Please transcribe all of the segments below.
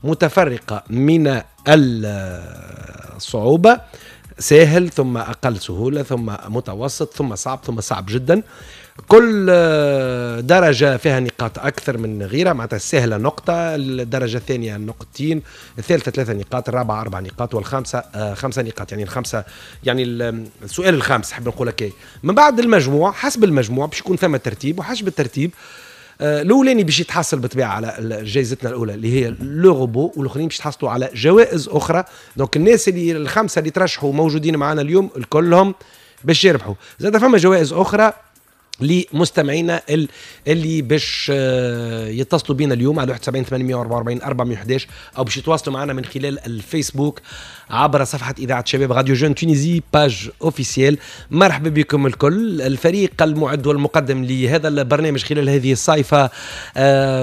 متفرقة من الصعوبة، سهل ثم أقل سهولة ثم متوسط ثم صعب ثم صعب جدا. كل درجة فيها نقاط أكثر من غيرها، معناتها السهلة نقطة، الدرجة الثانية نقطتين، الثالثة 3 نقاط، الرابعة 4 نقاط، والخامسة 5 نقاط. يعني الخمسة، يعني السؤال الخامس حاب نقول لك. من بعد المجموع، حسب المجموع باش يكون ثم ترتيب، وحسب الترتيب الاولاني باش يتحصل بالطبيعة على جائزتنا الاولى اللي هي le robot، والاخرين باش يتحصلوا على جوائز اخرى. donc الناس اللي الخمسة اللي ترشحوا موجودين معنا اليوم الكلهم باش يربحوا. زاد فما جوائز اخرى لمستمعينا اللي باش يتصلوا بنا اليوم على 71 844 411، او باش يتواصلوا معنا من خلال الفيسبوك عبر صفحة اذاعة شباب radio jeune Tunisie page officielle. مرحبا بكم الكل. الفريق المعد والمقدم لهذا البرنامج خلال هذه الصيفه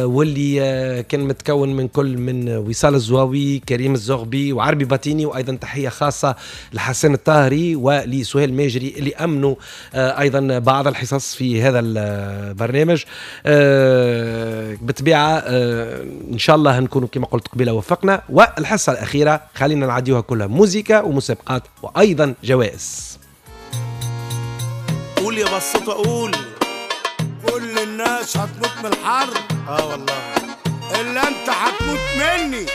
واللي كان متكون من كل من وصال الزواوي، كريم الزغبي، وعربي باتيني، وايضا تحية خاصة لحسن الطاهري ولسهيل ماجري اللي امنوا ايضا بعض الحصص في هذا البرنامج. بالطبيعة ان شاء الله نكونوا كما قلت قبيلة وفقنا. والحصه الاخيرة خلينا نعديوها كلها موزيكا ومسابقات وايضا جوائز. قول يا بسطة قول، كل الناس هتموت من الحر. اه والله الا انت هتموت مني.